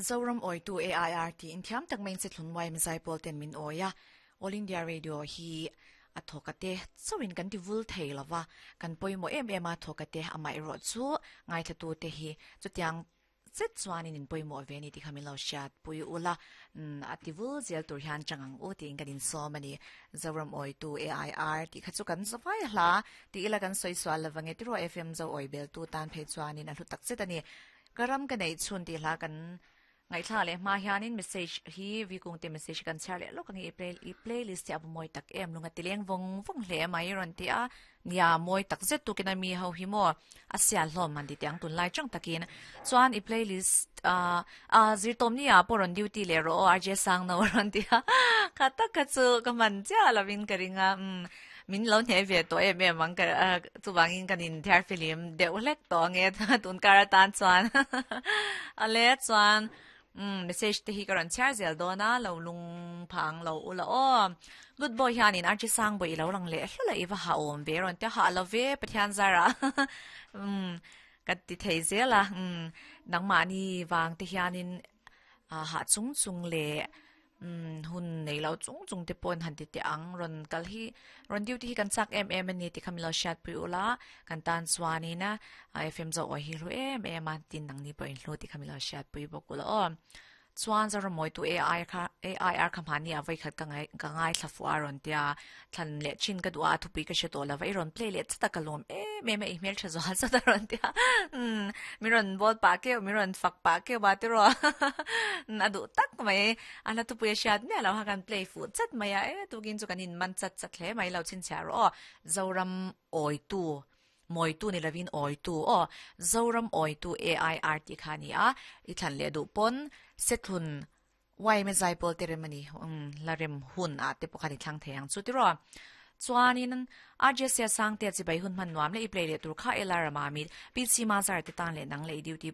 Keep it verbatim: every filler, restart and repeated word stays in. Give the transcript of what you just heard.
Zoram Oitu A I R ti in thiam tak main se thlun wai mizai pol ten min oya. All India Radio hi a thokate chawin kan ti vul thei lova, kan poimo em em a thokate amai ro chu ngai thla tu te hi chutiang zet chuanin in poimo ve ni ti khamin lo shat pui ula. Ati vul zel tur hian changang u ti in kan in som ani. Zoram Oitu A I R ti kha chu kan zawai hla ti ila kan soi swal lawange tiro. F M zo oi bel tu tan phei chuanin a hlu tak zet ani. Karam ka nei chun ti hla kan ngai thla le ma hianin message hi vi kung te message kan char le lo kang i play i playlist ya moi tak em lunga tileng vong vong hle mai ron ti a nia. Moi tak zet tu kina mi ho hi mo asia hlom man ti tiang tun lai chang takin chuan i playlist a a zir tom ni a poron duty le ro R J sang no ron ti a. Kha tak kha chu ka man cha lawin ka ringa um min lo hne ve to em em ang ka chu wangin kan in thiar film deuh hlek to nge tun kara tan chuan ale chuan um message te hi karan char zel dona lo lung phang lo ula o. Good boy hianin archi sang boi lo lang le hlula iwa ha om ve ron te ha lo ve pathian zara um ka ti thei zela um nang ma ni wang te hianin a ha chung chung le um hun nei lo chung chung te pon han ti te ang ron kal hi ron duty hi kan chak em em ani ti khamilo shat pui ula. Kan tan chuani na F M zo oi hi ru em em a tin nang ni po in hlu ti khamilo shat pui bok ula o. Chuan zara moi tu A I kha A I R khamani a vai khat ka ngai ka ngai thlafu a ron tia thlan le chin ka duwa thu pi ka she to la vai ron play le chata kalom e me me email tha zo sa ta ron tia um mi ron bol pa ke mi ron fak pa ke ba te ro na du tak mai ala tu pu shat me lo ha kan play fu chat mai a e tu kin chu kanin man chat chat hle mai lo chin cha ro. Zoram Oi Tu moi tu ni lavin oi tu o. Zoram Oi Tu A I R ti khani a i thlan le du pon sethun wai me zai pol te remani um la rem hun a te pokhani thlang theyang chu ti ro. Chuanin R J sia sang te chi bai hun man nuam le i play le tur kha elara ma mi P C ma zar te tan le nang le duty.